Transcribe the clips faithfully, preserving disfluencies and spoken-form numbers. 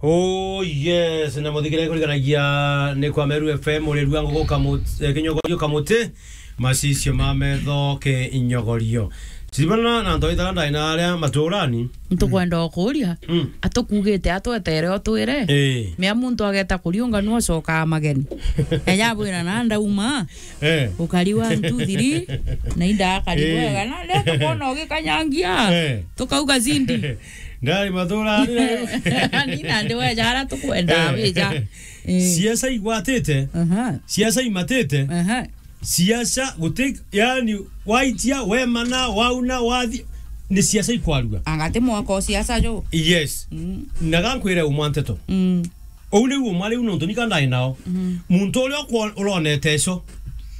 Oh yes, na muthikire kuriganagia ni kwa Meru F M, uri rua ngugu kamut-, eh, kinyogorio kamuti, macicio ma metho ke inyogorio. Siribana na ntoi tara ndai na aria maturani. Ntukwenda okuria, Mm. atukugite atwetere otwire. Eh. Mea muntu ageta kuriunga nu acokaa mageni. Eja bwira na ndauma. Eh. Ukari one, two, three, na inda akari Eh. bwega. Na leo tukwona ugikanyangia. Eh. Tukauga zindi. Ndari mathura, ni na Ni na ndi weja ara tukwenda Eh. wija. Eh. Siasa igwatite. Aha. Siasa imatite. Aha. Siasa guti, yani, waitia, wemana, wauna, wathi, ni siasa ikwarua. Anga ti mwaka o siasa jo. Yes. Mm. Na gankwire umwa nteto. Mm. Ou niu umwa riu nontu nika ndai nao. Mm. Muntu uria ukwo-, uronete ico,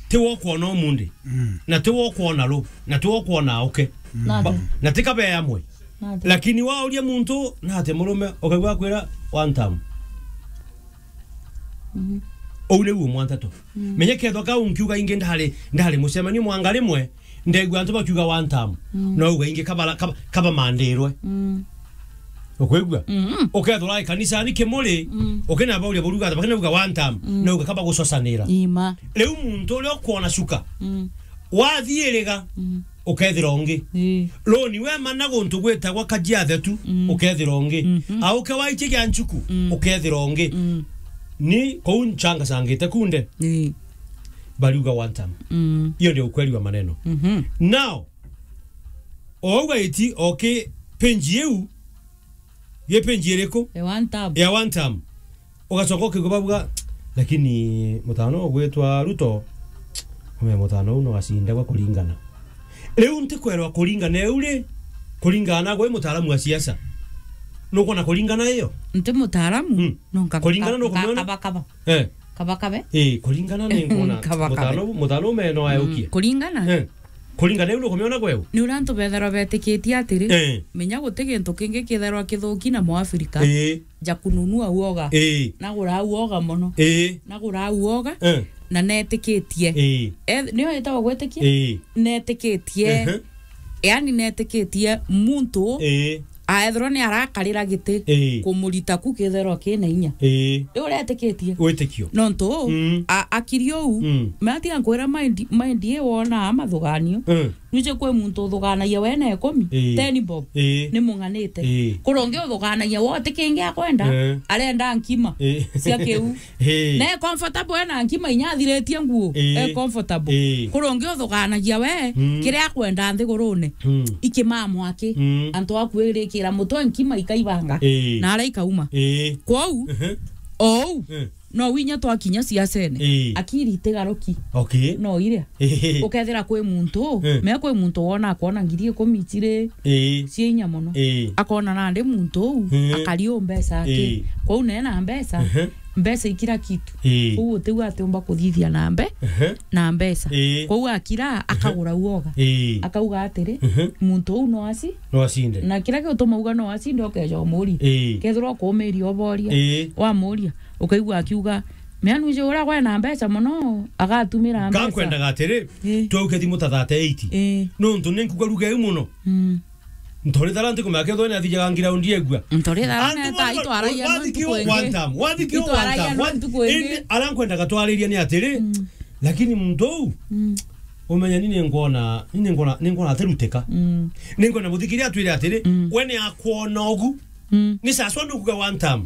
ti wo kwona umundi. Mm. Na ti wo kwona ru, na ti wo kwona auke. Mm. Nate. Ba-, na ti kabe amwe. Nate. Lakini wauria muntu, nate murume, ukaigua akwira, "One time." Mhm. Ou niu umwa nteto. Mm. Menya kethwa kau nkiuga ingi ndari, ndari mucemanio mwanga rimwe, ndegua antu bakiuga one term. Mm. No uga ingi kabara-, kaba-, kabamandirwe. Mm. Ukwigua? Mm. Ukethwa urai kanisani kimuri, Mm. ukina bauria buruga, bakina uga one term, Mm. no uga kaba gucocanira. Ima. Riu muntu uria ukwona cuka, Mm. wathiiriga, Mm. ukethira ungi. Ii. Roni wemana guntu gwitagwa Kajiathe tu, Mm. ukethira ungi. Mhm. Auke waitie gia nchuku, Mm. ukethira ungi. Mm. Ni kou ncangacangite kunde. Ii. Bariuga one term. Mm. Hiyo ndio ukweli wa maneno. Mhm. Now, ouga iti oki page iu, ye page iriku? Ya one term. Ya one term. Ugacoka ukigwa babuga, "Lakini mutano ugwitwa Ruto, ume mutano uu no acindagwa kuringana." Riu ntikwerwa kuringana eu ri, kuringana na gwe mutaalamu wa siasa. Nukwona kuringana iyo? Nti mutaalamu, Mm. no nka-, Kuringana nka-, no kumiona? Kaba, kaba. Eh. Kaba, kabe. Eh, kuringana ni nkwona Kaba, kabe. mutano, mutano ume no Mm. ayukie. Kuringana? Eh. Kuringana eu nukumiona gwe u? Ni uria antu betherwa betikitie atiri, Eh. menya guti gintu kingi kitherwa kithuki na Muafrika. Eh. Ja kununua uoga. Ii. Nagura uoga mono. Ii. Nagura uoga. Eh. Na netikitie. Ii. Eth-, nio yetagwa gwetikia? Ii. Netikitie. Ehe. Yani netikitie muntu Ii. aethirwa ni arakarira giti Ii. kumurita ku kitherwa kina inya. Ii. Riu uretikitie. Witikio. Nontu Mm. a-, akiri uu, Mm. matiga nkwira mind, mind i wona amathuganio. Mm. Nuje kwi muntu uthuganagia we na ikumi, Ii. ten bob, Ii. ni mung'anite. Ii. Kuri ungi uthuganagia we uti kingi akwenda, Ii. arenda nkima Ii. cia kiu. Ii. Na e comfortable ena nkima inya athiritie nguo. Ii. E comfortable. Ii. Kuri ungi uthuganagia we, Mm. kiria akwenda nthigurune. Mm. Ikimamwaki. Mm. Antu aku irikira mutwe nkima ikaibanga. Ii. Na ara ikauma. Ii. Kwou, Ehe. ou, Ii. No winya twakinya siasene. Ii. Akiri itigaruki. Okay. No iria. Ii. Ukethira kwi muntu, Eh. me kwi muntu wona akwona ngiri ikumi ciri Ii. cia inya mono. Ii. Akona nandi muntu uu, Eh. akari u mbeca aki. Ii. Kwou ne na mbeca, Ehe. mbeca i kila kitu. Ii. Kwou utiu atiumba kuthithia na mbe-, Ehe. na mbeca. Ii. Kwou akira, Ehe. akagura uoga. Ii. Akauga atiri, Ehe. muntu uu no aci-, No acinde. Na kira giutuma uga no acinde, ukeja umuria. Ii. Kethirwa ukumiria uboria, Ii. wamuria, ukaigua akiuga, "Mea nuje uria gwe na mbeca mono, agatumira mbeca." Ngakwendaga atiri, Ii. twauke thimu ta thirty-eight. Ii. Nontu ni nkuga ruga iu mono. Mm. Ntori thara ntikumea kethirwa ni athijaga ngiraundi egua. Ntori thara Antu neta mwana, itwaragia no wathikio ntuku ingi. one time, wathikio Itwaragia one time, no one, ntuku ingi. Indi aria nkwendaga twariria ni atiri, Mm. lakini muntu uu, Mm. umenya ni ningwona, ni ningwona, ningwona atiruteka. Mm. Ningwona muthikiria atwire atiri, Mm. we ni akwona ugu. Mm. Ni saswa ndukuga one time.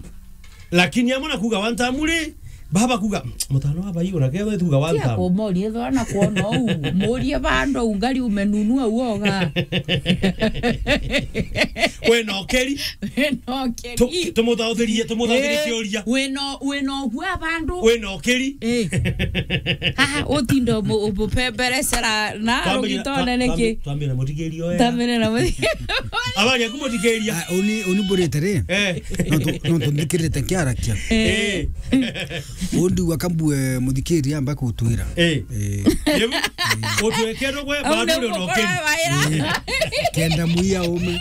Lakini amwe na kuga one time ri, baba kuga, "Mm, mutano wa bai, ona ketho tuga one Tia time." Kumoria, ethwa na kuona uu. Murie bando ungari umenunua uoga. We no keri. We no keri. Tu-, tumuthauthirie, tumuthauthirie Eh, ciuria. We no, we no gua bandu. We no keri. Eh. Haha, utindo mu-, umupemberecera na Twambire, rugitone twa-, niki? twambi-, twambire na muthikiria oya. Twambire na muthi- Abari aku muthikiria. Ah, uni, uni mburite ri? Eh. No tu, no tu ndikirite kiarakia. Eh. Eh. Undi wa kambue muthikiria amba kutwira. Eh. Eh. Yebu, utwekero gwe, Au bado ni uri mukora onokeri. Waira. Eh. Kenda muia ume.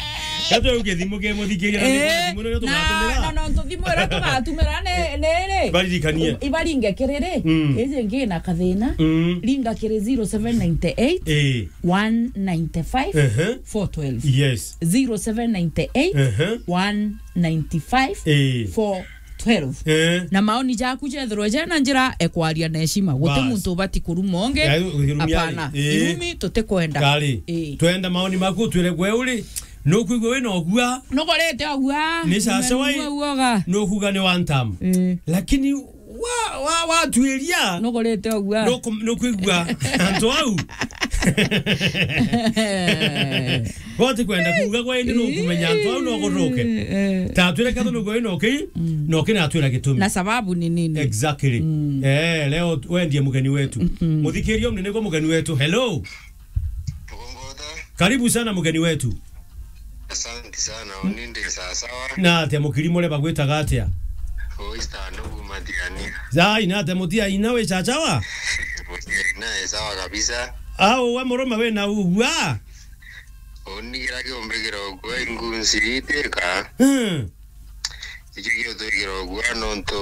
Gatwe uge thimu ke muthikiria, na Eh, thimu nene na, tugatumira. Na, na, no, thimu Tugatumira ni, ni ri? Baririkanie. Ibaringe kiri ri? Mm. Iji ngi na kathina. Mm. Ringa kiri zero seven nine eight, eh, one nine five, ehe, four twelve. Yes. Zero seven nine eight, ehe, one nine five, eh, four twelve. Eh. Na maoni jaku jethirwe jena njira ekwaria na heshima. Guti, bas, muntu ubati kuruma ungi. Ya, irumi ari. Hapana. Eh. Irumi tutikwenda. Kari. Eh. Twenda maoni maku, twire gwe uri. Nukwigua wina ugua? Nukorete ugua? Ni sasa wai? Numenua uoga? Nukuga ni one term. Eh. Lakini wa, wa, watuiria. Nukorete ugua? Nuku-, nukwigua antu au. Bote kwenda kuuga gwa indi nukumenya antu au no gutuke. Eh. Ta twire katho nugo ino ki, mm, no kina atwira gitumi. Na sababu ni nini? Exactly. Mm. Eh, leo wendie mugeni wetu. Mm. Muthikiria munene kwa mugeni wetu. Hello. Karibu sana mugeni wetu. Asante sana, uni ndi sawa sawa. Na atia mukiri muri bagwitaga atia? Oista ndo kuma Tiania. Zai, na atia mutia ina wi chachawa? Mutia ina e sawa kabisa. Au we murume wina ugua? Uni kira kiumbi kira ugua ingunsi iteka. Hmm. Ikio giutwikira ugua nontu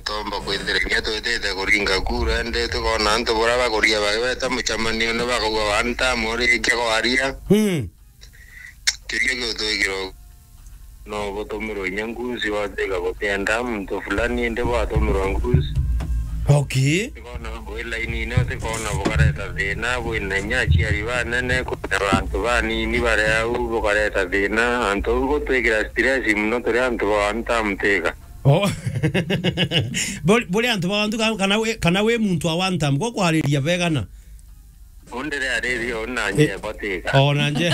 tomba kwithira inya twitite kuringa kura, indi tukona antu buria bakuria bagweta mucemanio ni bakauga one term urikia kwaria. Hmm. Kiria giutwikira ugua no butumirwe inya ngunsi watwika gutienda muntu fulani indi bwatumirwa ngunsi. Okay. Tikona bwi lainine, tikona bukareta thina, bwina inya aciari banene, kwina bantu banini bari au, bukareta thina. Antu au gutwikira stress mono turi antu ba one term tika. Oh. Buri, buri antu ba one term ka-, kana wi, kana wi muntu wa one term, gwa kwariria begana? Undire ariria ona nje batika. Ona nje.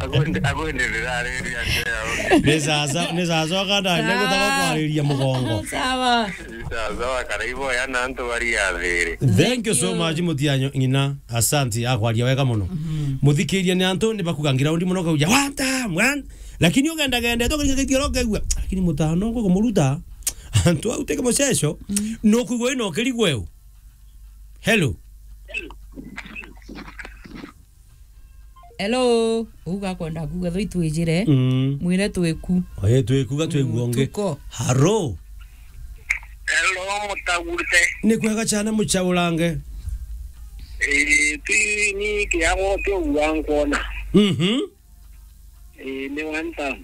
Akwende, akwende ndirariria nje ya undi. Ni sasa, ni sasa okanda nje gutaka kwariria mugongo. Sawa. Sawa, sawa, karaibo ya na antu bari athiri. Thank you so much, Mutianyo ng'ina. Asante, akwaria wega muno. Mhm. Muthikiria ni antu ni bakuga ngiraundi muno kauja, "Wanta, mwan." Lakini ugenda gende, to kiri gitiro kegua. Lakini mutano ngo kumuruta. Antu au teke muceco. Mm. No kugwe no kiri gweu. Hello. Hello. Uga kwenda kuga tho itwijire. Mm. Mwire twiku. Oye, twiku ga twiku. Mm, onge. Tuko. Haro. Hello, mutagurite. Ni kwega chana muchaurange. Eh, ti ni kiago kio gwa nkona. Mhm. Ii, ni one term.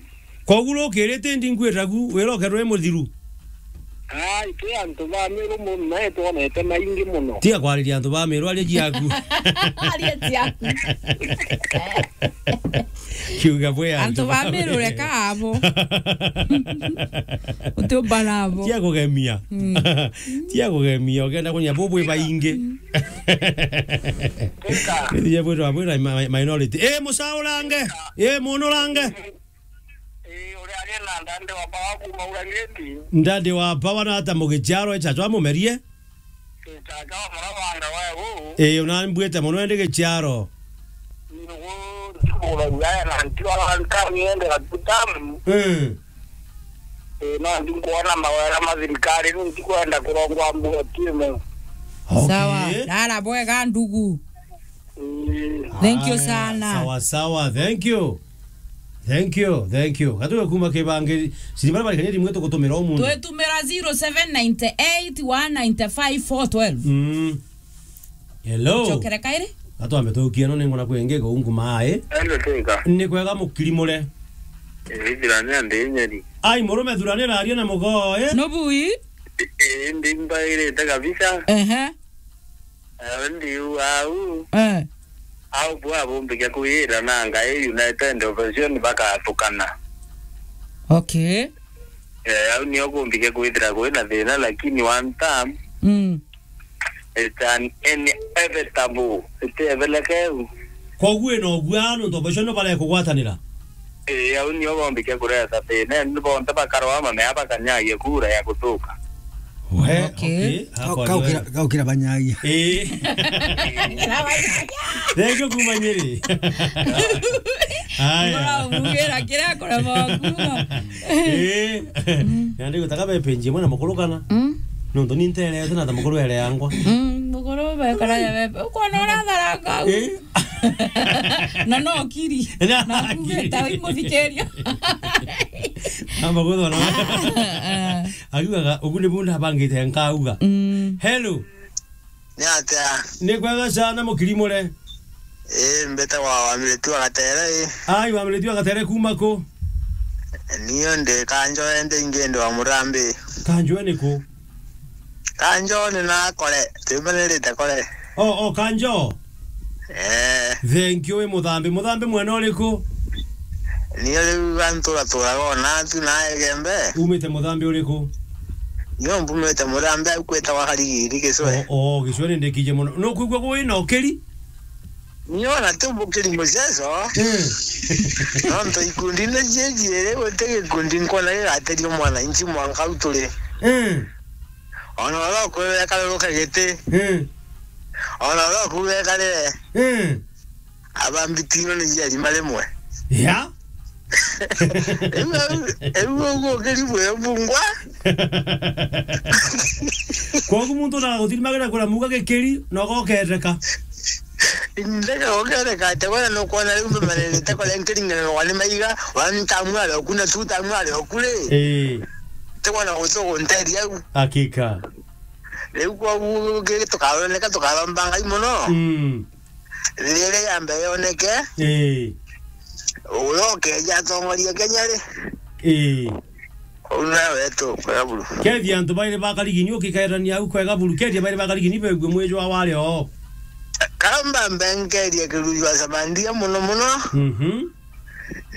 Koguo rukirite ndi nkwiragu, wirokerwe muthiru. Ai, twi antu ba Meru mono, nae twonete maingi mono. Tiga kwariria antu ba Meru, aria ciaku. Aria ciaku. Kiuga bwe antu ba Meru, reka abo. Utiumba nabo. Tia kugemia. Mm. Tia kugemia, ukenda kunya bo bwi baingi. Tika. Nithije bwirwa bwira mi-, minority. Eh, mucaurange. Eh, munurange. Eh, uri aria na ndandi wa bawa kuma urangeti. Ndandi wa bawa na ata mugicharo echa chwa mumerie. Tata wa murabanga wa gu. Eh, unambwite muno ndi gicharo. Nugu ndikura ugaya na ntiwa nka niende gatutamu. Mm. Ii, no ndi nkwona mawega ma thirikari, ni ntikwenda kurongwa mbuga timu. Okay. Sawa, rara bwega ndugu. Ii. Thank you sana. Sawa, sawa, thank you. Thank you, thank you. Gatuwe kuma kibangiri, siri bara bari kanyeri mwetu gutumira umuntu. Twetumira zero seven nine eight one nine five four twelve. Mm. Hello. Chokere kairi? Atwambe tukie no ningona kwenge go ungu mai. Hello, teka. Ni kwega mukiri mure. Ithira ni andi nyeri. Ai, murume thurani raria na mugoe. No bui? Ii, ndi mbairite kabisa. Ehe. Eh, ndi u au. Eh. Au bwa bumbikia kuyira na ngai United Opposition bakatukana. Okay. Eh, au nio kumbikia kwithira kwina thina, lakini one time. Mm. It's an inevitable. Itebelekeu. Koguo ino gwa nontu opposition no barekugwatanira? Ii, au nio bombike kureta thina, ni bonthe bakarwa mamea bakanyagia kura ya gutuka. We, okay. Okay. Kau-, kaukira, kaukira banyagia. Ii. Thank you kuma Nyeri. Aya. Mura umugira kiria kurema kuma. Eh. Na ndigutaga be page imwe na mukuru kana? Mm. Nontu ni nterete na ta mukuru ere yangwa. Mm, mukuru be kana ya be. Ukona uratharanga. Eh. Na no kiri. Na Na kiri. Kumbita wimuthikiria. Amba guthona. Ah, ah. Akiugaga, "Ugu ni bu ndabangite nkauga." Mm. Hello. Ni atia? Ni kwega sana, mukiri mure? Ii, mbitagwa Wamiritu wa Gatere, ii. Ai, Wamiritu wa Gatere kuma ku? Nio ndi Kanjoe, ndi ingi ndi wa Murambi. Kanjoe ni ku? Kanjoe ni na Kore, twimanirite Kore. O, o, Kanjoe? Ee. Thank you, wi Muthambi. Muthambi mwena uriku? Nio riu antu uraturaga ona tu na Egembe. Umite Muthambi uriku? Nio mbumite Muthambi au kwitagwa Karigiri Gicwe. O, o, Gicwe ni ndikije muno. Nukwigua gwi na ukiri? Nio na ti mbukiri muceco. Eh. Nontu ikundi ni ciingi, guti gikundi nkwona gigateria mwananchi mwanka au turi. Eh. Ona uria ukuuga ekarire giti. Eh. Ona uria ukuuga ekarire. Eh. Aba mbitino ni ciarima rimwe. Ya? Riu, riu uguo ukiri bwe bungwa. Koguo muntu na gutirimagira kura muga gikiri, na ugoketeka. Ndeka goketeka, ate wala nukwona riu mbemanirite kore nkiringanirwa ni maiga, one time ari oku na two time ari oku ri. Ii. Tikwona guti ugunteria au. Hakika. Riu koguo tukaroneka tukaromba Ngai muno. Mm. Riria ya mbere yoneke, ii, uria ukeja atongoria Kenya ri? Ii. Uu nawe wetu kwega buru. Kethia antu bairi ba Karigini ukikaerania au kwega buru, kethia bairi ba Karigini begue mwijwa wari oo. Kamba mbe nkerie Kirujwa Sabandia muno muno. Mhm.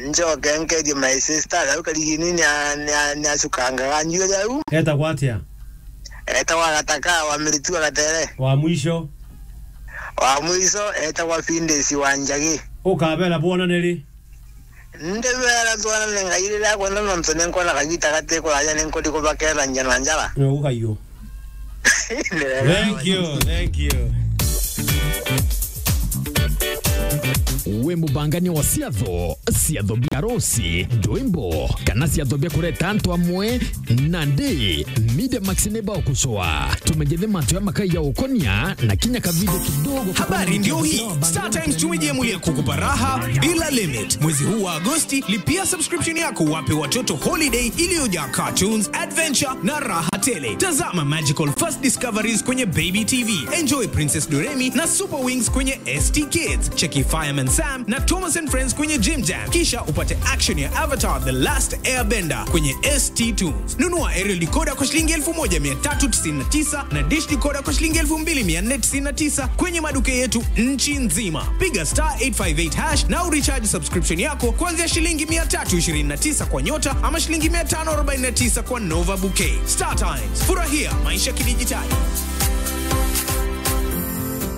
Njoke nkerie my sister, au Karigini ni a-, ni a-, ni acukangaga njuiri au. Etagwa atia? Etagwa Gataka wa Miritu wa Gatere. Wa mwisho? Wa mwisho etagwa Findesi wa Njagi. Ukabera bwonane ri? Ndibera twonane Ngai riria akwenda, nontu ni nkwona kagita gati kuraja ni nkuthi kubakerania na njara. Ni uguo kaiyo. Thank you, thank you. Wi mubangania wa ciatho, ciatho bia arusi, ndwimbo, kana ciatho bia kureta antu amwe? Nandi, Media Max ni bagucoa. Tumenyithe mantu ya makai ya ukonia na kinya kavidio kidogo. Habari ndio hii. Star Times tumejiamulia kukupa raha bila limit. Mwezi huu wa Agosti, lipia subscription yako, wape watoto holiday iliyojaa cartoons, adventure na raha tele. Tazama Magical First Discoveries kwenye Baby T V. Enjoy Princess Doremi na Super Wings kwenye S T Kids. Cheki Fireman Sam na Thomas and Friends kwenye Jim Jam. Kisha upate action ya Avatar The Last Airbender kwenye S T Tunes. Nunua aerial decoder kwa shilingi elfu moja mia tatu tisini na tisa na dish decoder kwa shilingi elfu mbili mia nne tisini na tisa kwenye maduka yetu nchi nzima. Piga star eight five eight hash na urecharge subscription yako kuanzia shilingi mia tatu ishirini na tisa kwa Nyota ama shilingi mia tano arobaini na tisa kwa Nova Bouquet. Star Times, furahia maisha kidijitali.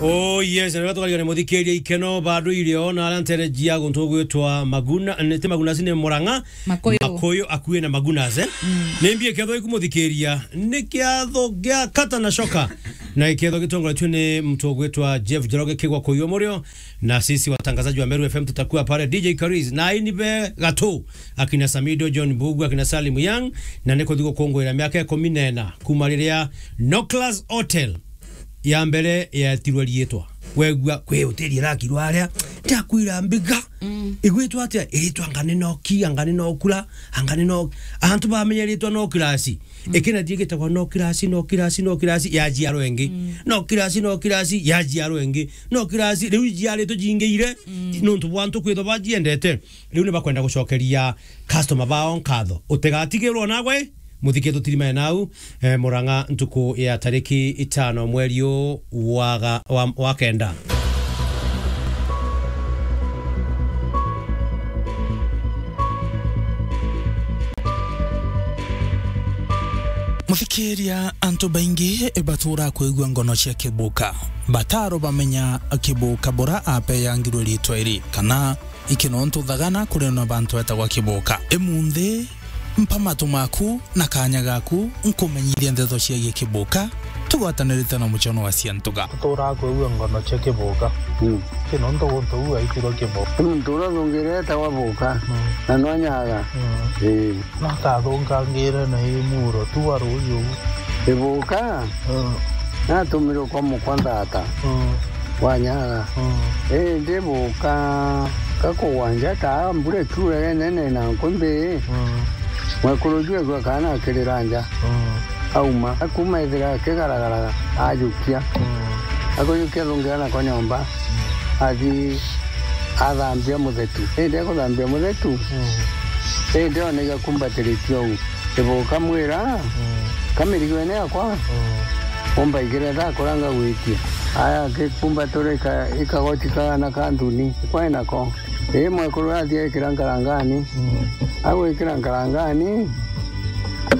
Oh yes, na tukarigane muthikiria ikeno bado irio na aria ntereji ya guntu gwitwa Maguna, ne ti Maguna, cine Murang'a. Makuyu. Makuyu akui na Magunas, eh? Mm. Ni mbia kiatho ikumuthikiria, ni kiatho gia kata na shoka. Na kiatho gitongoretue ni mtu gwitwa Jeff Njoroge kigwa kuyu murio, na sisi watangazaji wa Meru F M tutakuwa pale, D J Kariz, na aini be gatu, akina Samido, John Mbugu, akina Salim Young, na ni kuthi gukunguira miaka ikumi na ina kuma riria Noklas Hotel ya mbere yetirwe riitwa. Wegua kwi hoteli irakirwa aria, ndakwira mbiga. Mm. Igwitwa atia? Iritwa anga ni noki, anga ni nokura, anga ni no-, antu bamenya iritwa Noklas. Mm. Ikina thie gitagwa Noklas, Noklas, Noklas, ya jiarwa ingi. Mm. Noklas, Noklas, ya jiarwa ingi. Noklas, riu ijiaritwe jingiire, mm, nontu bwa antu kwithwa bajiendete. Riu ni bakwenda gucokeria customer bao nkatho. Utigatigirwo nagwe, muthike tutirimane nau, eh, Murang'a ntuku ya tariki itano mweri u wa ga-, wa, wa kenda. Muthikiria, antu baingi batura kwigua ngono cia Kibuka. Bataro bamenya Kibuka bura apeyangirwe ritwa iri, kana iki nontu thagana kuri na bantu etagwa Kibuka. Imunthi, mpa matu maku na kanya gaku, nkumenyithia ndeto ciagie Kibuka, tugwatanirite na muchono wa Ciantuga. Tuturaa kwigua ngono cia Kibuka. Mm. Ki nontu guntu uu aitirwe Kibuka. Ni muntu uria thungire etagwa Buka, mm, na nwanyaga. Mm. Ii. Nakathungangire na ii muro tu wa ruuji uu. Ibuka? Mm. Natumirwe kwa mukwa nthata. Mm. Wanyaga. Mm. Indi buka, gakugwa nja, taa mbura ikiura inene na nkumbi, mm, mwekuru uju egua kaana akirira nja. Mm. Auma. Akuma ethira akigaragaraga, ajukia. Mm. Akujukia, athungira nako nyomba. Mm. Athi athambia muthetu. Indi akuthambia muthetu, mm, indi ona igakumbatiritie uu. Ibuka mwira, mm, kamirigo ene yakwa, mm, umbaigire thaa kuria ngagwitie. Aya, akikumbatura ika-, ikagoti kagana ka nthuni, kwai nako. Ii mwekuru athi ekira nkarangani. Mm. Agwikira nkarangani,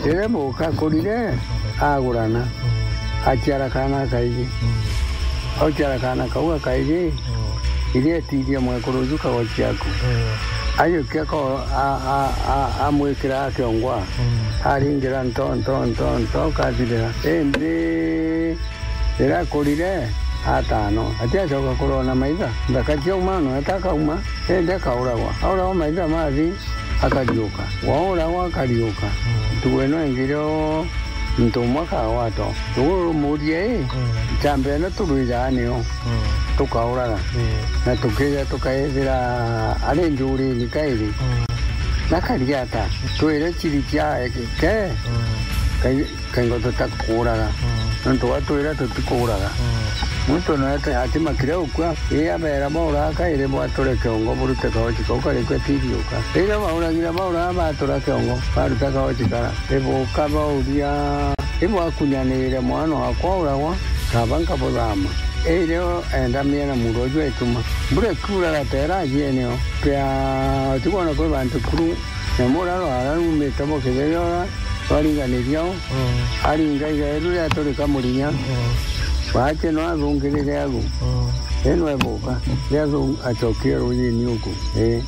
riria buka kurire, agurana. Mm. Aciara kaana kaiji. Mm. Auciara kaana kau gakaiji, mm, iria etirie mwekuru uju kagoti aku. Mm. Ajukia ko-, a-, a-, a-, amwikira akiongwa. Mm. Aringira nto, nto, nto, nto, kathirira. Indi riria akurire, atano. Atiacoka kurona maitha. Nthaka ciauma, no atakauma. Indi akauragwa. Auragwa, maitha mathi, akariuka. Wauragwa, akariuka. Mm. Ntugo ino ingi rio muntu umwe akagwatwa. Tugu rumuria, ii, mm, ncamba ino turwijaga nio, mm, tukauraga. Mm. Na tukija tukaithira ari njurini kairi. Mm. Na kari ata? Twire ciri cia ke, mm, kai-, kaingo tutakuuraga. Mm. Nontu watwira tutikuuraga. Mm. Muntu no ati-, atimakire ukua, ii abera bauraga kairi bwature kiongo burute kaoci kau kari kwe tiriuka. Riria bauragira bauraga batura kiongo, baruta kaoci kara. Ibuka bauria, ibwakunyanire mwana wakwa uragwa, kaba nkabuthama. Irio enda miena muuro uju aituma. Mbura ikiura gatera ajieneo. Pia utigona kwi bantu kuru. Nyamu uria rwara rumite bo kithiria uria rwaringaniria o, mm, aringa iga riu riaturika murinya. Mm. Wache no athungirire agu. Mm. Ino ebuka. Riathung-, acokie rujini uku. Ii.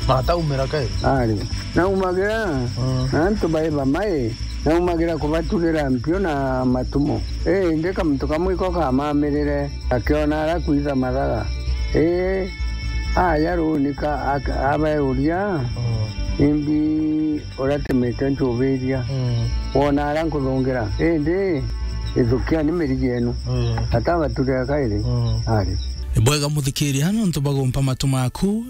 Na ataumira kairi? Ari. Naumagira, mm, na antu bai bamai, naumagira kubaturira mpio na matumo. Ii, indi kamuntu kamwe iko kamamirire, akiona aria kwitha mathaga. Ii, aja ruuni ka-, ak-, abeuria, mm, imbi uratemete nchubiria. Mm. Wona aria nkuthungira. Indi, ithukiani mirigi yenu. Mm. Atabaturira kairi. Mm. Ari. Ni bwega muthikiria, nontu bagumpa matu maku,